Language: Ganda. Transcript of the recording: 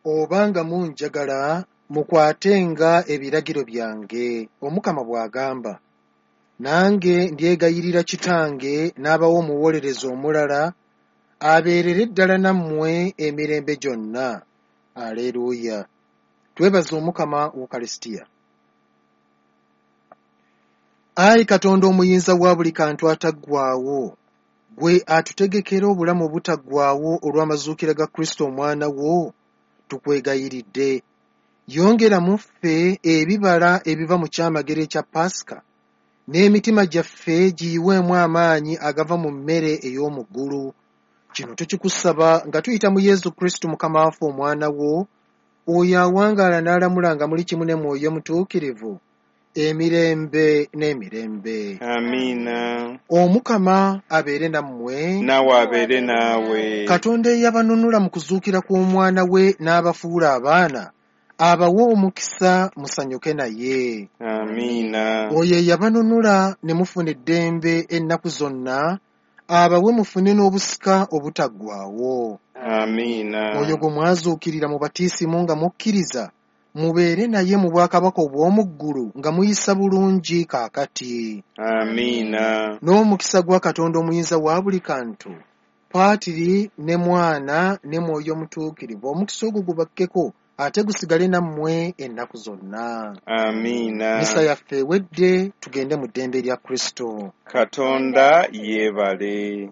Obanga munjagala, mukwatenga ebiragiro byange, Omukama bw'agamba. Nange ndyegayirira Kitange n'abawa omuwolereza omulala abeerere ddala nammwe emirembe gyonna. Aleruuya. Twebaze Omukama Ukaristia. Ayi Katonda omuyinza wa buli kantu ataggwaawo, ggwe atutegekera obulamu obutaggwaawo olw'amazuukira ga Kristo omwana wo, tukwegayiridde. Yongera mu ffe ebibala ebiva mu kyamagero ekya Paasika, n'emitima gyaffe giyiweemu amaanyi agava mu mmere ey'omu ggulu. Kino tukikusaba nga tuyita mu Yesu Kristo Mukama waffe omwana wo, oyo awangaala n'alamula nga muli kimu ne Mwoyo Mutuukirivu, emirembe n'emirembe. Amiina. Omukama abeere nammwe. Naawe abeere naawe. Katonda eyabanunula mu kuzuukira kw'omwana we n'abafuula abaana, abawe omukisa musanyuke naye. Amiina. Oyo eyabanunula ne mufuna eddembe ennaku zonna, abawe mufune n'obusika obutaggwaawo. Amiina. Oyo gwe mwazuukirira mu batiisimu nga mukkiriza, mubeere naye mu bwakabaka obw'omu ggulu nga muyisa bulungi kaakati. Amiina. N'omukisa gwa Katonda omuyinza wa buli kantu, Paatiri ne Mwana ne Mwoyo Mutuukirivu, omukisa ogwo gubakkeko ate gusigale nammwe ennaku zonna. Amiina. Misa yaffe ewedde, tugende mu ddembe lya Kristo. Katonda yeebale.